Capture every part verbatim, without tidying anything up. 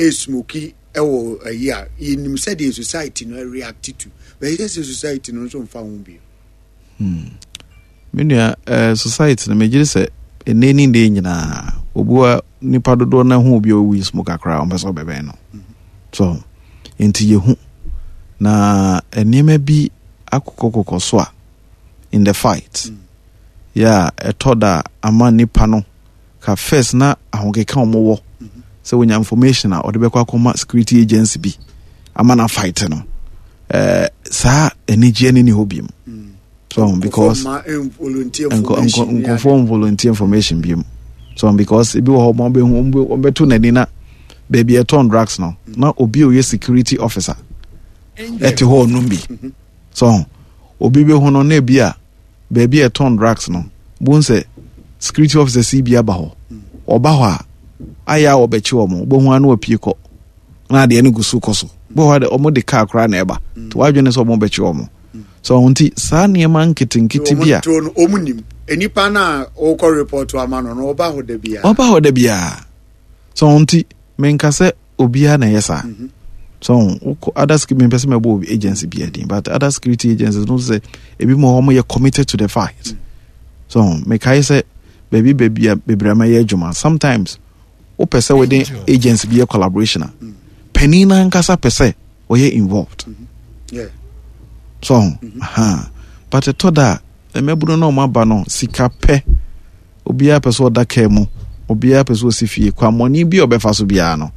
Ɛsmoke ɛwɔ ayi a yɛnim sɛdeɛ society no react to, bɛyɛ sɛ society no nso mfa ho bio. Hmm. Me nua, uh, society no, megye sɛ ɛnɛ ne deɛ nyinaa obua nipa dodoɔ no ho obi a ɔwi smoke akora, ɔmpɛ sɛ ɔbɛbɛn no mm-hmm. So nti yɛhu na nneɛma bi akokɔkokɔ so a in the fight mm. yɛ a ɛtɔ da ama nipa no ka first na ahokeka wɔn wɔ sɛ wonya information a ɔde bɛkɔ akɔma security agency bi ama na fight no, ɛɛ saa anigyeɛ no ni hɔ bi mu mm. So because nkurɔfoɔ volunteer information bi mu, so because ebi wɔ hɔ wɔn bɛhu, wɔn bɛto n'ani na baabi ɛtɔn drugs no mm. na obi a ɔyɛ security officer ɛte hɔ ɔnum bi mm-hmm. So obi bɛhu no na ebi a baabi a ɛtɔn drugs no bon sɛ security officers yi bi aba hɔ, ɔba hɔ a ayɛ a ɔbɛkye wɔn, wobɛhu ano apue kɔ na adeɛ no gu so kɔ so bɔ hɔ de wɔn de kaa koraa na ɛba nti wadwene sɛ wɔn bɛkye wɔn. So nti saa nneɛma nketenkete bi a wɔn nim nipa na ɔkɔ report ama no no ɔba hɔ da biara, ɔba hɔ da biara. So nti menka sɛ obiara na ɛyɛ saa mm-hmm. So wokɔ other security, mepɛ sɛ mɛbɔ obi agency bi adin, but other security agencies no sɛ ebi mu hɔ yɛ committed to the fight mm. So mekae sɛ baabi baabi a bebree ama yɛ adwuma, sometimes wopɛ sɛ wode agency bi yɛ collaboration a mm. panin no ankasa pɛ sɛ ɔyɛ involved mm-hmm. yeah. So mm-hmm. uh-huh. But ɛtɔ da a mmabunu no ɔmo aba no sika pɛ, obiara pɛ sɛ ɔda kaa mu, obiara pɛ sɛ ɔsi fie, kwammɔne bi a ɔbɛfa so biara no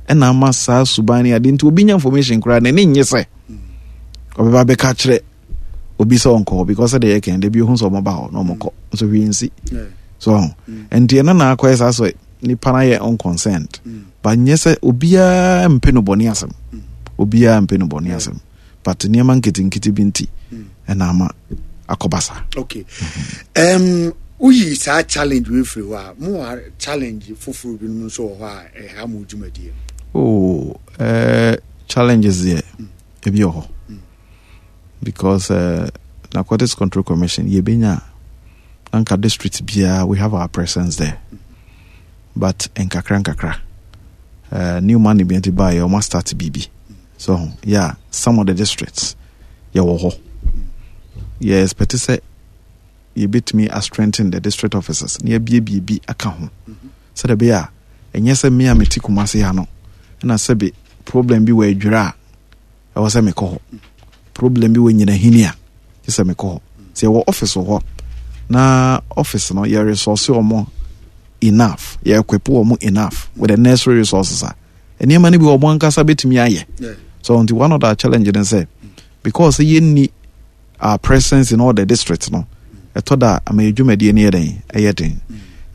ɛna ama saa suban ne ade. Nti obi nya information koraa n'ani nye sɛ ɔbɛba bɛka kyerɛ obi sɛ ɔnkɔ hɔ, because sɛdeɛ yɛkɛn da bi ohun sɛ ɔmo ba hɔ na ɔmo kɔ nso hwee nsi so. Nti ɛno na akɔyɛ saa sɛ nipa no ayɛ unconcerned, but nyɛ sɛ obiara mpɛ no bɔne asɛm, obiara mpɛ no bɔne asɛm, but nneɛma nketenkete bi nti ɛna ama akɔba saa. Okay, um, woyi saa challenge wei firi hɔ a, mowɔ challenge foforɔ binom nso wɔ hɔ a ɛha mo dwumadie? Oh, uh, challenges deɛ mm. ebi wɔ hɔ mm. because uh, Narcotics Control Commission, yɛbɛnya anka district biara we have our presence there mm. But nkakra nkakra uh, new money bi nti baayɛ, ɔma start biribi so yeah, some of the districts yɛwɔ hɔ. Yɛ expect sɛ yɛbɛtumi a strengthen the district officers na yɛabiebie bi aka ho sɛdeɛ ɛbɛyɛ a ɛnyɛ sɛ me a mete Kumase ha no ɛna sɛbe problem bi wɔ Adwira a ɛwɔ sɛ mekɔ hɔ, problem bi wɔ Nyinahini a gye sɛ mekɔ hɔ. Sɛ yɛwɔ office wɔ hɔ na office no yɛ resource wɔn enough, yɛ equip wɔn enough with the necessary resources a, nneɛma no bi wɔn ankasa bɛtumi ayɛ. So nti one of the challenge ne sɛ because yɛnni our presence in all the districts no, ɛtɔ da ama yɛ dwumadie no yɛ den, ɛyɛ den.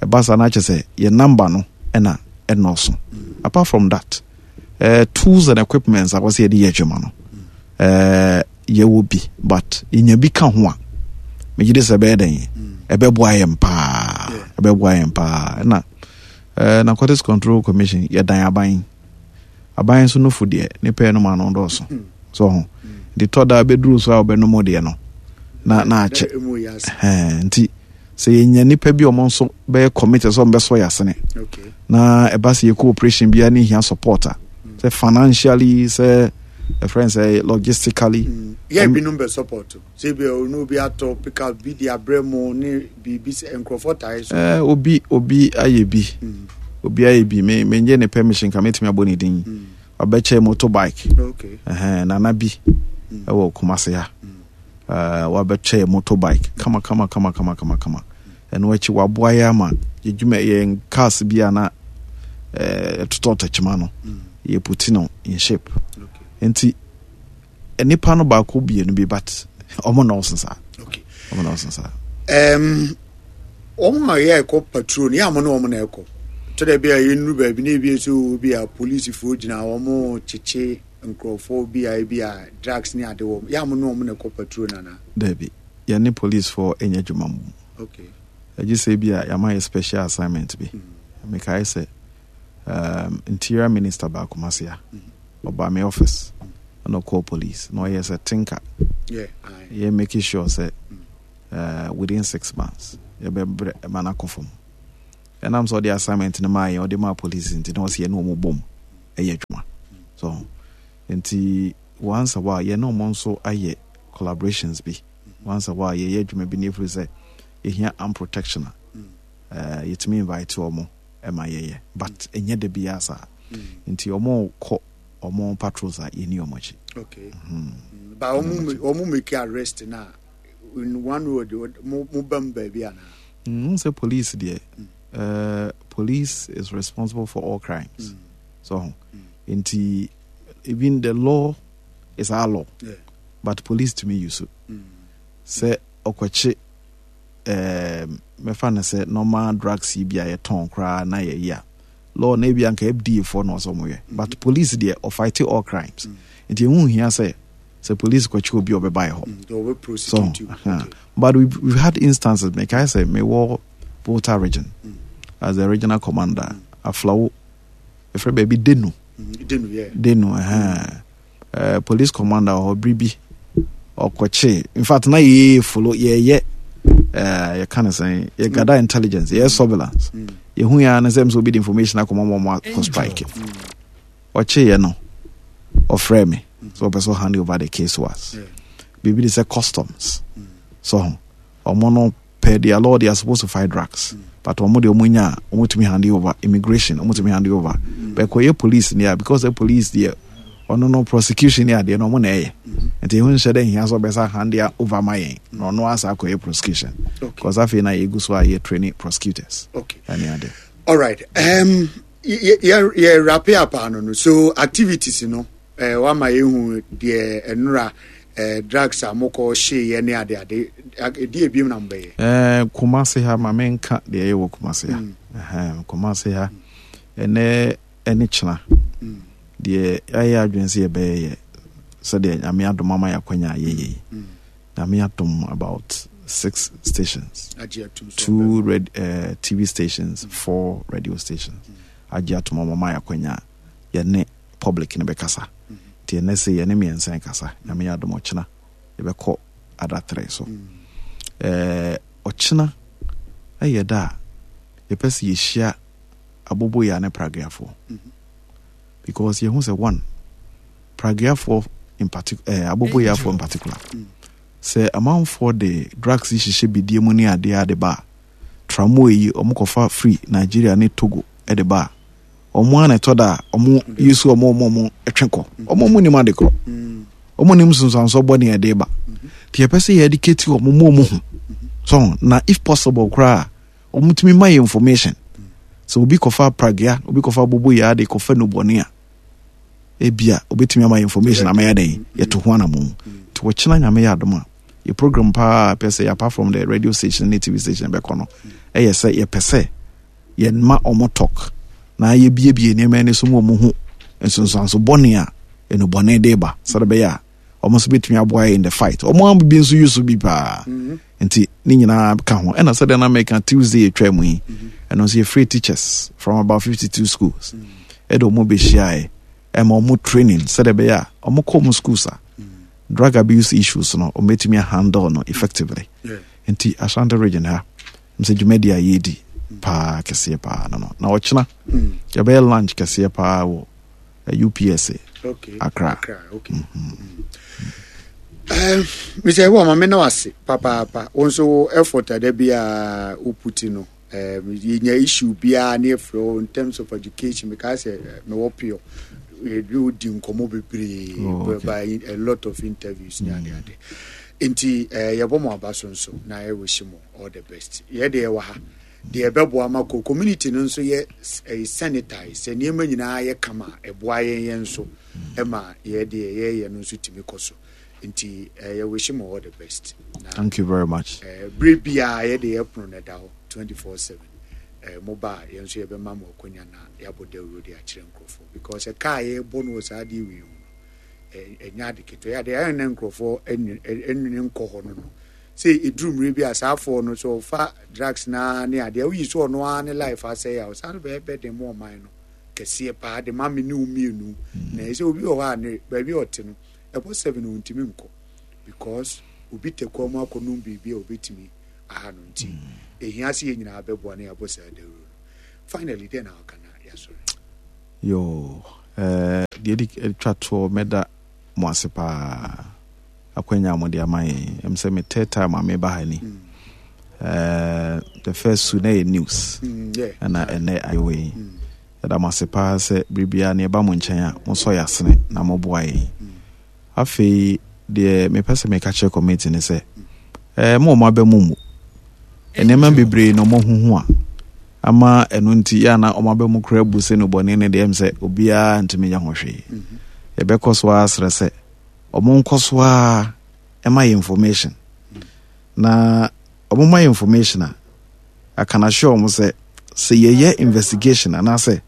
Ɛba saa no akyɛ sɛ yɛ number no ɛna ɛnɔɔso. Apart from that, uh, tools and equipments a wɔsɛ yɛde yɛ adwuma no, uh, yɛwɔ bi, but yɛnya bi ka ho a, megye de sɛ ɛbɛyɛ den, ɛbɛboa yɛn paa, ɛbɛboa yɛn paa. Ɛna uh, Narcotics Control Commission yɛdan aban, aban nso no fo deɛ ne pɛɛ no ma no dɔɔso so ho nti tɔ da bɛduru so a wɔbɛnom deɛ no na na akyɛ. Nti sɛ yɛnya nipa bi a ɔmo nso bɛyɛ committed sɛ ɔmo bɛsɔ yɛ asene na ɛba sɛ yɛkɔ operation biara ne hia support a, sɛ financially, sɛ ɛfrɛ n sɛ logistically. Mm. Yɛ binom bɛ support sɛ bi ɔno obi atɔ pick up bi de abrɛ mu ne biribi sɛ nkurɔfoɔ tae so. Eh, obi obi ayɛ bi mm. Obi ayɛ bi, me menye ne permission ka metumi abɔ ne din mm. Ɔbɛkyɛ motorbike. Okay. Ɛhɛn, nana bi ɛwɔ Kumase ha mm. uh, wabɛkyɛ motorbike kama kama kama kama kama kama. Ɛno akyi waboa yɛ ama yɛdwuma yɛn cars bi a na ɛtotɔ eh, tɛkyima no mm. yɛ put no in shape okay. Nti nipa no baako mmienu bi, but ɔmo nɔɔso saa. Okay. Ɔmo nɔɔso saa. Um, wɔn a yɛ ɛkɔ patrol no yɛ a mo ne wɔn na ɛkɔ to dɛ bi a yɛnnuru baabi na ebi nso bi a polisifoɔ gyina wɔn kyekye nkurɔfoɔ bi a ebi a drugs ne ade wɔm, yɛ a mo ne wɔn na ɛkɔ patrol nana? Dabi, yɛne policefoɔ nyɛ adwuma mu. Okay. Ɛgye sɛ bi a yɛama yɛ special assignment bi mm. Mekae sɛ um, interior minister baako mase a ɔba me office ɛna ɔkɔɔ police na ɔyɛ sɛ tinka yeah, yɛ making sure sɛ uh, within six months yɛbɛbrɛ ɛma no akɔ fam. Ɛnam sɛ ɔde assignment no maa yɛn, ɔde maa police nti na ɔsɛ yɛne wɔn bom. Ɛyɛ adwuma so. Nti once a while yɛne ɔmo nso ayɛ collaborations bi. Once a while yɛyɛ adwuma bi ne ɛfiri sɛ yɛhia arm protection a, uh, yɛtumi invite ɔmo ɛma yɛyɛ, but ɛnyɛ da biara saa. Nti ɔmo kɔ ɔmo patrols a, yɛni ɔmo akyi. Okay, mm. but ɔmo ɔmo make arrest na in one way or the other, mo mo bɛm baabi anaa? Mm, sɛ police deɛ, uh, police is responsible for all crimes. Mm. So nti even the law is our law, yeah. but police tumi use it. Mm. Sɛ ɔkɔkye um, mɛfa no sɛ normal drugs yi bi a yɛtɔn koraa na yɛyi a, law na ebi anka F D A foɔ na ɔsɛ ɔmo yɛ, but police deɛ, ɔfight all crimes. Nti ehu hia sɛ sɛ police kɔkye obi a, ɔbɛba yɛ hɔ. Mm. They will So prosecute you. uh, okay. But we've, we've had instances. Mekae sɛ mewɔ Volta Region as the regional commander, Aflao, ɛfrɛ baabi Denu. Mm. Denu, yeah. Denu, uh, uh, police commander wɔ hɔ bere bi ɔkɔkye, in fact na yɛyɛ follow, yɛyɛ uh, yɛka no sɛn, yɛ gather intelligence, yɛyɛ surveillance. Yɛhu yɛ ne sɛ m sɛ obi de information akɔma ma ɔmo akɔ strike. Ɔkyeeɛ no, ɔfrɛ me sɛ ɔpɛ sɛ hand over the case to us. Yeah. Biribi de sɛ customs so ho, ɔmo no per their law they are supposed to fight drugs, but ɔmo deɛ, ɔmo nya a, ɔmo tumi hand over. Immigration, ɔmo tumi hand over. But kɔyɛ police ne a, because the police deɛ, ɔno no prosecution ne adeɛ no ɔmo na ɛyɛ, nti ehu nhyɛ dɛ nhia sɛ ɔbɛsa hand over ma yɛn na ɔno asa akɔyɛ prosecution, Okay. because afei na yɛgu so a yɛ training prosecutors Okay. ɛne ade. All right. Um, yɛ yɛ wrap up ano no, so activities no, eh, wama yɛhu deɛ ɛnora eh, drugs a mokɔ hyeeɛ ne ade ade ɛdi ebiem na mobɛyɛ. Eh, Kumase ha, ma menka deɛ ɛyɛ wɔ Kumase ha. Ɛhɛn, Kumase ha ɛnɛ ɛne kyena deɛ, yɛayɛ adwene sɛ yɛbɛyɛ yɛ sɛdeɛ Nyame adom ama yɛ akwanya a yɛyɛ yi. Nyame adom, about six stations, agye atum so two red, uh, T V stations, four radio stations agye atom ama ma yɛ akwanya a yɛne public no bɛkasa. Nti ɛnɛ sɛ yɛne mmiɛnsa kasa, Nyame yɛ adom ɔkyena yɛbɛkɔ other three so. Eh, ɔkyena ɛyɛ da a yɛpɛ sɛ yɛhyia aboboyaa ne pragyafoɔ, because yɛhu sɛ one, pragyafoɔ in particular, eh, aboboyafoɔ in particular, sɛ amanfoɔ de drugs yi hyehyɛ bidie mu ne adeɛ ade ba a, tramol yi ɔmo kɔfa firi Nigeria ne Togo de ba a, ɔmo a na ɛtɔ da a ɔmo yi so, ɔmo ɔmo ɔmo ɛtwe kɔ, ɔmo ɔmo nim ade korɔ, ɔmo nim nsonsanso bɔ ne ɛde ba. Nti yɛpɛ sɛ yɛ educate ɔmo mu, ɔmo ho so, na if possible koraa, ɔmo tumi ma yɛ information sɛ obi kɔfa pragya, obi kɔfa aboboyaa de kɔfa nubɔne a, ebia obetumi ama yɛ information ama yɛ dɛn, yɛto ho anamo. Nti wɔkyena, Nyame yɛ adom a, yɛ program paa pɛ sɛ, apart from the radio station ne T V station bɛkɔ no, ɛyɛ sɛ yɛpɛ sɛ yɛma ɔmo talk na yɛbiebie nneɛma ani so mu, ɔmo ho nsonsanso bɔne a enubɔne de ba, sɛde bɛyɛ a ɔmo nso bɛtumi aboa yɛ in the fight. Ɔmo a bi nso use bi paa, nti ne nyinaa ka ho. Ɛna sɛdeɛ na meka, Tuesday yɛtwa mu yi, ɛno nso yɛfrɛ teachers from about fifty-two schools, ɛde ɔmo bɛhyiaeɛ, ɛma ɔmo training sɛdeɛ ɛbɛyɛ a ɔmo kɔ ɔmo schools a, drug abuse issues no, ɔmo bɛtumi handle no effectively. Yeah. Nti Ashanti Region ha m sɛ dwumadi a yɛredi paa kɛseɛ paa no no na ɔkyena yɛbɛyɛ lunch kɛseɛ paa wɔ eh, U P S A. Okay. Accra. Accra, okay. Um, Mister Ewa, ma me na wase papaapa. Wo nso wo effort a da bi a wo put no. Um, yɛnya issue biara ne yɛfrɛ wo in terms of education, because sɛ eh, mewɔ pure. Yɛde wo di nkɔmmɔ bebree Oh, okay. by a lot of interviews ne ade ade. Nti eh, yɛbɔ mo aba so nso na yɛwish mo all the best. Yɛde yɛwɔ ha deɛ, ɛbɛboa ma ko community no nso yɛ ɛyɛ sanitize, sɛ nneɛma nyinaa yɛ kama a, ɛboa yɛn yɛn nso ɛma yɛ deɛ yɛyɛ no nso tumi kɔ so. Nti eh, yɛwish mo all the best na Thank you very much. eh, bere biara yɛde yɛ pono no ɛda hɔ twenty-four seven. eh, moba a, yɛn nso yɛbɛma mo akonya na yɛabɔ dawuro de akyerɛ nkurɔfoɔ, because ɛka a yɛbɔ no wɔ saa adeɛ wei ho no, ɛ- ɛnyɛ ade ketewa. Yɛ adeɛ ɛyɛ na nkurɔfoɔ ɛnwene nkɔ hɔ no no sɛ ɛduru mmerɛ bi a, saa afoɔ no sɛ ɔfa drugs naa ne adeɛ woyi so, ɔno ara ne life asɛe a, ɔsan bɛyɛ bɛden mu ɔman no kɛseɛ paa de ma me ne wo mmienu. Na ɛsɛ obi wɔ hɔ a, ne baabi a ɔte no, ɛbɔ seven ɔntumi nkɔ because obi tɛ kwan mu akɔnom biribi a obɛtumi aha no. Nti ɛhia sɛ yɛn nyinaa bɛboa na yɛabɔ saa dawuro no. Finally, dɛn na waka na yɛasɔre? Yo, Eh, deɛ di twa toɔ, mɛda mo ase paa akwanya a mode ama yɛn. Ɛm sɛ me third time a meba ha ni. Eh, the first two na yɛ news, Mm, yeah. ɛna ɛnɛ ayɛwɔ yi. Yɛda mo ase paa sɛ biribiara ne ɛba mo nkyɛn a, mosɔ yɛ asene na moboa yɛn. Afei deɛ mepɛ sɛ meka kyerɛ committee ne sɛ, eh, mo ɔmo aba mu mu nneɛma bebree na ɔmo huhu a ama ɛno nti yɛ ana ɔmo aba mu kora bu sɛ no bɔne ne deɛ, ɛm sɛ obiara ntumi nyɛ ho hwee. Yɛbɛkɔ so ara serɛ sɛ ɔmo nkɔ so ara ɛma yɛ information, na ɔmo ma yɛ information a, I can assure ɔmo sɛ sɛ yɛyɛ investigation anaasɛ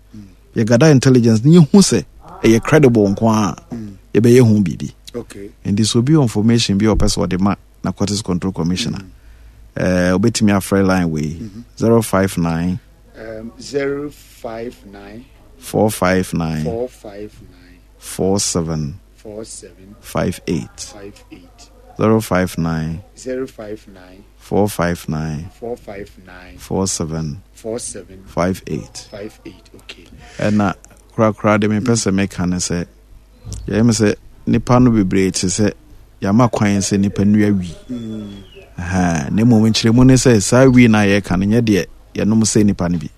yɛgada intelligence ne yɛhu sɛ ɛyɛ credible nko a, yɛbɛyɛ ho biribi. Okay. Nti sɛ obi wɔ information bi a ɔpɛ sɛ ɔde ma Narcotics Control Commissioner, ɛɛ obɛtumi afrɛ line wei, zero five nine Um, zero five nine four five nine four five nine four seven four seven five eight. five eight. zero five nine zero five nine four five nine four five nine four seven four seven five eight. five eight. Okay. Ɛna korakora de mepɛ sɛ meka ne sɛ, yɛyɛ me sɛ nipa no bebree te sɛ yɛama kwan sɛ nipa nnua wii. Ɛhɛn, na mmom nkyerɛmu ne sɛ saa wii no a yɛreka no nyɛ deɛ yɛnom sɛ nipa no bi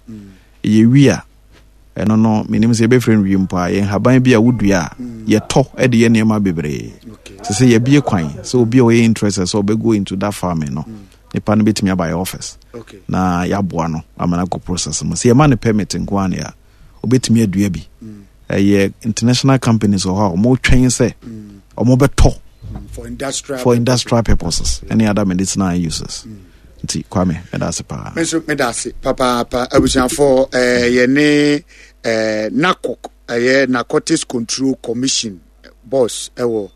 ɛyɛ wii a ɛno no, menim sɛ yɛbɛfrɛ no wii mpo a, yɛn haban bi a wodua a yɛtɔ de yɛ nneɛma bebree. Okay. Sɛ sɛ yɛbie kwan sɛ obi a ɔyɛ interested sɛ ɔbɛgo into that farming no, nipa no bɛtumi aba yɛ office Okay. na yɛaboa no ama no akɔ process mu. Sɛ yɛma no permit nko a ne a, obɛtumi adua bi. Ɛyɛ international companies wɔ hɔ a ɔmotwɛn sɛ ɔmo bɛtɔ Mm, for industrial for industrial purposes ɛne other medicinal uses. Nti Kwame, mɛda ase paa. Me nso meda ase papaapa. Abusuafoɔ, eh, yɛne eh, NACOC, ɛyɛ Narcotics Control Commission boss ɛwɔ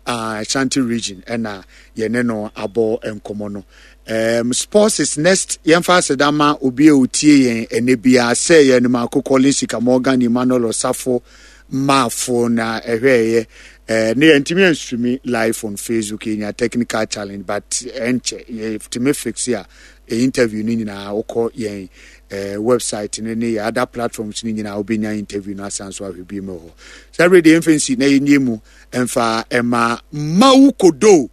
uh, Ashanti Region, ɛna yɛne no abɔ nkɔmmɔ no. um, sports is next. Yɛmfa aseda ma obi a otie yɛn ɛnɛ biara sɛ yɛn maako Collins Sika, Morgan Emmanuel Osafo Maafo na ɛhwɛɛyɛ. eh, ne yɛntumi anstream live on Facebook, yɛnya technical challenge, but ɛnkyɛ yɛtumi fix a ɛ interview no nyinaa wokɔ yɛn eh, website no ne yɛ other platforms no nyinaa, wobɛnya interview no asan so ahwɛ bi mu hɔ. Sɛ bere deɛ yɛmfa nsi na yɛnyɛ mu ɛmfa ɛma Mawu Kodo,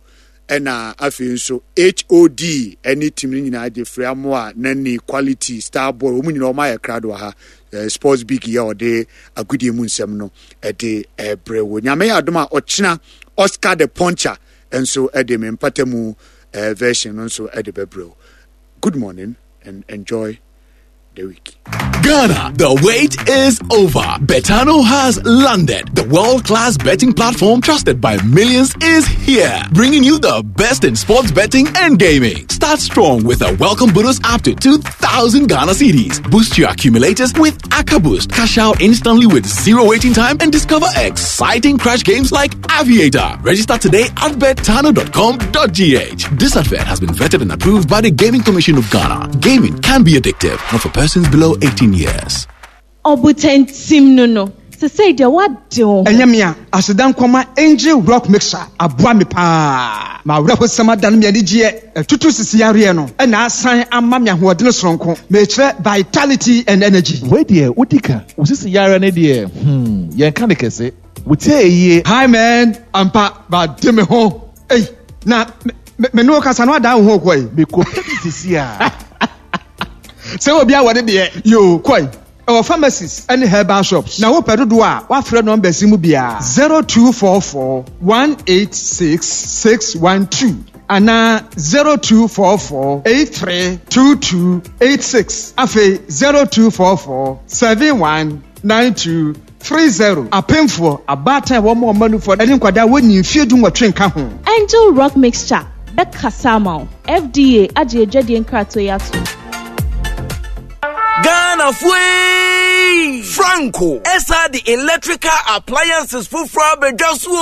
ɛna afei nso H O D ɛne team no nyinaa gye firi amoa nani quality star boy, wɔn nyinaa wɔn ayɛ krado wɔ ha. eh, sports big yɛ ɔde agodie mu nsɛm no ɛde ɛbrɛ wɔ. Nyame yɛ adom a, ɔkyena Oscar the Puncher nso ɛde me mpata mu eh, version no nso ɛde bɛbrɛ wo. Good morning and enjoy the week. Ghana, the wait is over. Betano has landed. The world class betting platform trusted by millions is here, bringing you the best in sports betting and gaming. Start strong with a welcome bonus up to two thousand Ghana cedis. Boost your accumulators with AccaBoost. Cash out instantly with zero waiting time and discover exciting crash games like Aviator. Register today at betano dot com dot G H. This advert has been vetted and approved by the Gaming Commission of Ghana. Gaming can be addictive, not for persons below eighteen years. Ɔbotantim no no sesei deɛ woade wo ho. Ɛnyɛ me a aseda nkɔma Angel Rock Mixer aboa me paa ma awerɛhosɛm adane me anigyeɛ, ɛtutu sisi yareɛ no ɛna asan ama me ahoɔdene soronko, mekyerɛ vitality and energy. Wei deɛ wodi ka wo sisi yare ne deɛ, hmm, yɛnka ne kɛse wotie eyie. Hi man, ampa bade me ho. Ei, na me me ne wo kasa no adan wo ho kɔe. Mekɔpɛ bi sisi a. Sɛ obi awɔ ne deɛ yo kɔe, ɛwɔ pharmacies ne herbal shops, na wopɛ dodoɔ a, woafrɛ numbers yi mu biara, zero two four four one eight six six one two anaa zero two four four eight three two two eight six, afei zero two four four seven one nine two three zero. Apemfoɔ, abaatan a wɔn ɔma nufoɔ ne nkwadaa wɔnyi mfeɛ du nwɔtwe nka ho. Angel Rock Mixture bɛkasa ama wo. F D A agye adwadie nkratoɔ yi ato. Ghana fue! Franco ɛsa de electrical appliances foforɔ abɛdwa so o.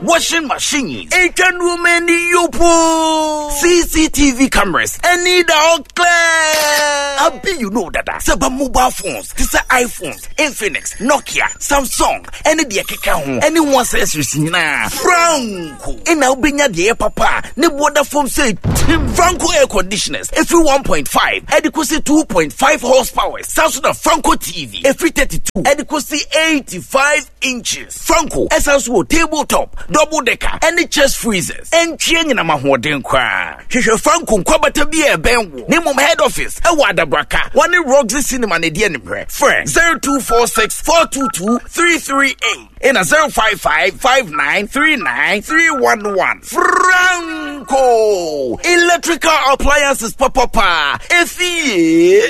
Washing machines, etwa nneɛma ani yopo, C C T V cameras, ɛne da all clear. Abi you know dada sɛ ba mobile phones te sɛ iPhones, Infinix, Nokia, Samsung ɛne deɛ keka ho ɛne ho accessories nyinaa, Franco ɛna wobɛnya deɛ ɛyɛ papa a ne boɔda fam sɛ tim. Franco air conditioners ɛfiri one point five ɛde kɔsi two point five horsepower. Saa so na Franco T V ɛfiri thirty-two ɛde kɔsi eighty-five inches. Franco ɛsan so wɔ table top, double decker ɛne chest freezers. Ɛntwie nyinam ahoɔden koraa. Hwehwɛ Franco nkwabata bi a ɛbɛn wo ne mmom head office ɛwɔ Adabraka, wɔne Roxy Cinema ne deɛ nimrɛ. Frɛ zero two four six four two two three three eight ɛna zero five five five nine three nine three one one. Franco electrical appliances papapa efie.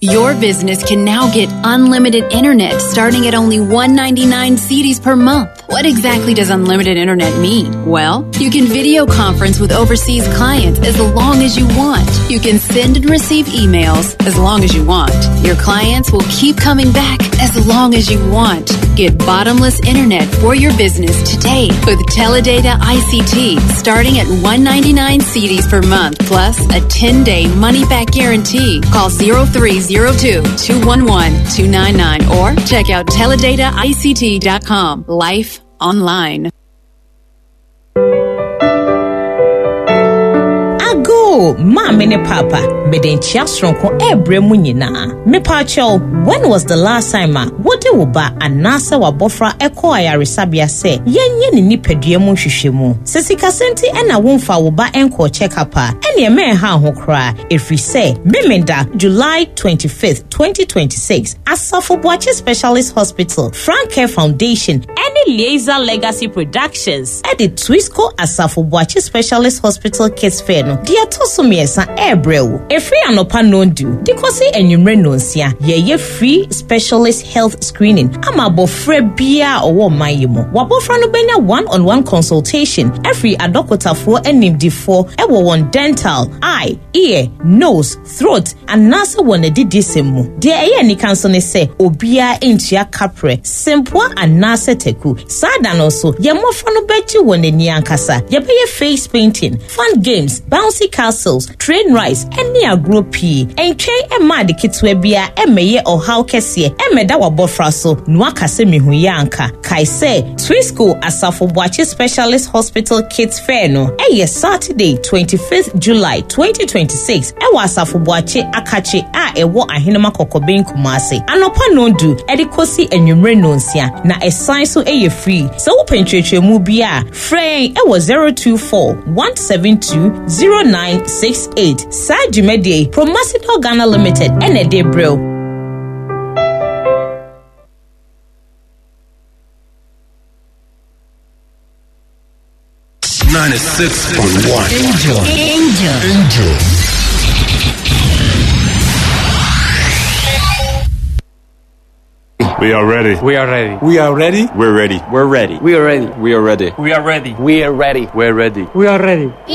Your business can now get unlimited internet starting at only one hundred ninety-nine cedis per month. What exactly does unlimited internet mean? Well, you can video conference with overseas clients as long as you want. You can send and receive emails as long as you want. Your clients will keep coming back as long as you want. Get bottomless internet for your business today with Teledata I C T starting at one hundred ninety-nine cedis per month plus a ten-day money-back guarantee. Call zero three zero two two one one two nine nine or check out teledata I C T dot com. Life online. Ago, Maame ne Papa, mede nkyia soronko ɛrebrɛ mu nyinaa. Mepaakyɛw, when was the last time a wode wo ba anaasɛ wabɔfra ɛkɔɔ ayaresabea sɛ yɛnyɛ ne nipadua mu nhwehwɛmu? Sɛ sikasɛm nti ɛna womfa wo ba ɛnkɔɔ check-up a, ɛneɛ mɛnha ho koraa, ɛfiri sɛ Memenda July twenty-fifth, twenty twenty-six, Asafo Boakye Specialist Hospital, Frank Care Foundation ɛne Liaisa Legacy Productions ɛde Twisco Asafo Boakye Specialist Hospital Kids Fair no deɛ ɛtɔ so mmiɛnsa ɛrebrɛ wo. Ɛfiri anɔpa nondu de kɔsi anwummerɛ nonsia, yɛyɛ free specialist health screening ama abɔfra biara a ɔwɔ ɔman yi mu. Wabɔfra no bɛnya one-on-one consultation ɛfiri adɔkotafoɔ animdifoɔ ɛwɔ wɔn dental, eye, ear, nose, throat anaasɛ wɔn adidisɛm mu. Deɛ ɛyɛ anika nso ne sɛ obiara ntua kaprɛ, sempoa anaasɛ taku. Saa da no nso, yɛn mmɔfra no bɛgye wɔn ani ankasa. Yɛbɛyɛ face painting, fun games, bouncy castles, train rides ɛne agorɔ pii. Ɛntwɛn ɛma ade ketewa biara ɛmmɛyɛ ɔhaw kɛseɛ ɛmmɛda w'abɔfra so na waka sɛ mehu yɛ anka. Kae sɛ Twisco Asafo Boakye Specialist Hospital Kids Fair no ɛyɛ Saturday twenty-fifth July twenty twenty-six ɛwɔ Asafo Boakye Akakye a ɛwɔ Ahenema Kɔkɔbɛn Kumase, anɔpa nondu ɛde kɔsi anwummerɛ nonsia, na ɛsan so ɛyɛ free. Sɛ wopɛ nkyerɛkyerɛmu bi a, frɛ yɛn ɛwɔ zero two four one seven two zero nine six eight. Saa dwumadie yi, Promasidor Ghana Limited ɛna ɛde brɛ wo. Ninety-six point one. Angel. Angel. Angel. We are ready. We are ready. We are ready. We're ready. We're ready. We are ready. We are ready. We are ready. We are ready. We're ready. We are ready. We